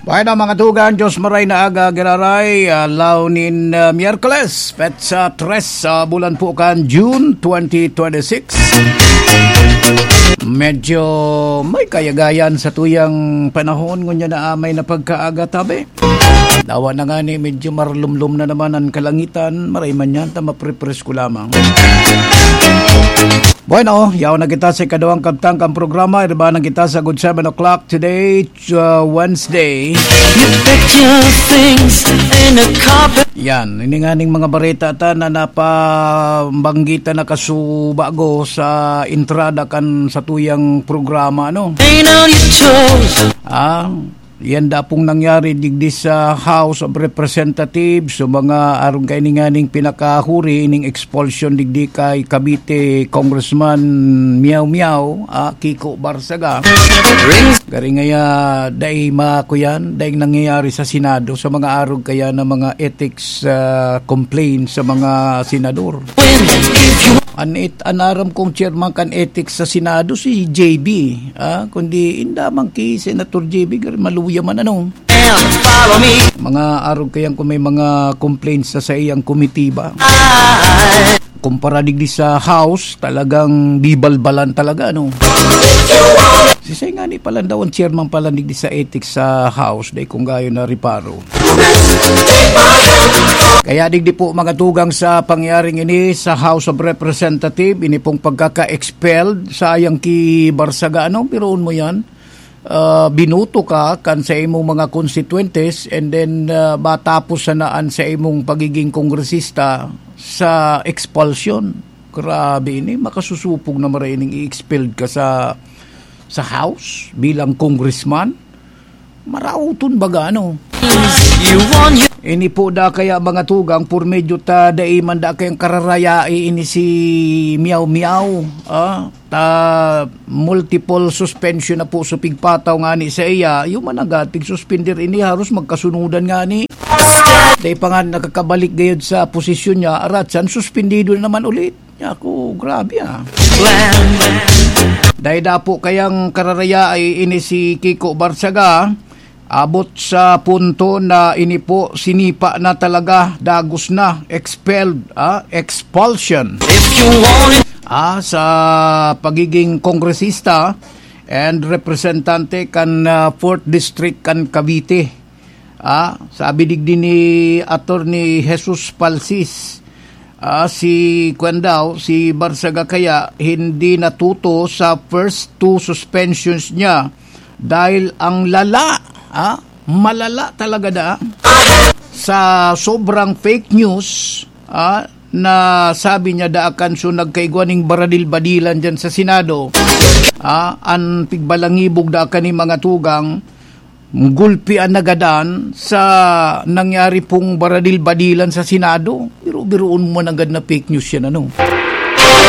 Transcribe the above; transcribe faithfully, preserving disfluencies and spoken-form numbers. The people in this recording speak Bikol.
Bueno, mga tugang, Diyos maray na aga, giraray, alaw nin, ah, Miyerkules, petsa tres sa bulan po kan June twenty twenty-six. Medyo may kayagayan sa tuyang panahon, ngunyan na, ah, may napagkaaga tabi. Dawa na nga ni, medyo marlumlom na naman ang kalangitan, maray man yan, ta maprepresko lamang. Bueno, yaon na kita sa ikaduhang kabtang kan programa. Iriba na kita sa good seven o'clock today, uh, Wednesday. You packed your things in a carpet. Yan, ini nga ning mga bareta ta na napabanggitan na kasubago sa entrada kan satuyang programa, no? Ain't on your toes. Ah, yan da pong nangyari digdi sa House of Representatives, so mga arog kaini nganing pinakahuri ining expulsion digdi kay Cavite Congressman Miao Miao, ah, Kiko Barsaga. Gari ngaya, dai makuyan, dai nangyayari sa Senado, sa mga arog kaya na mga ethics, ah, complaints sa mga senador. An et-, an aram kong chairman kan ethics sa Senado si J B, ah, kundi inda man ki Senator J B, gari maluya man ano. Mga arog kayang kung may mga complaints sa saiyang komitiba. Kumpara digdi sa House, talagang bibalbalan talaga, ano? Si Sengani pala daw ang chairman pala digdi sa ethics sa House, dai kung gayo na reparo. Kaya digdi po, mga tugang, sa pangyaring ini sa House of Representative, ini pong pagkaka-expelled sa ayang ki Barsaga, ano? Biruon mo yan. Ah, binuto ka kan sa imong mga constituentes, and then, ah, matapos sana an sa imong pagiging kongresista sa expulsion. Grabe ini, makasusupog na maray ning i-expelled ka sa, sa House bilang congressman. Maraoton baga, ano? You want you Ini po da kaya, mga tugang, por medyo ta dai man da kayang kararayai ini si Miao Miao, ah, ta multiple suspension na po sa pigpataw ngani sa iya. Yung managad, pigsuspender ini, haros magkasunudan ngani. Dai pa nga nakakabalik gayod sa posisyon niya, aratsan, suspendido na naman ulit. Ako, grabe, ah. Dai da po kayang kararayai ini si Kiko Barsaga, abot sa punto na ini po sinipa na talaga, dagos na, expelled, ah, expulsion. If you want it. Ah, sa pagiging kongresista and representante kan, ah, fourth District kan Cavite. Ah, sabi digdi ni Attorney Jesus Palsis, ah, si, kwan daw, si Barsaga kaya hindi natuto sa first two suspensions niya dahil ang lala, ah, malala talaga da sa sobrang fake news, ah, na sabi niya daakan. So, nagkaigwa ning baradil-badilan dyan sa Senado. Ah, an pigbalangibog daakan ni mga tugang, gulpi an nagadan sa nangyari pong baradil-badilan sa Senado. Biro-biroon mo nanggad na fake news yan, ano?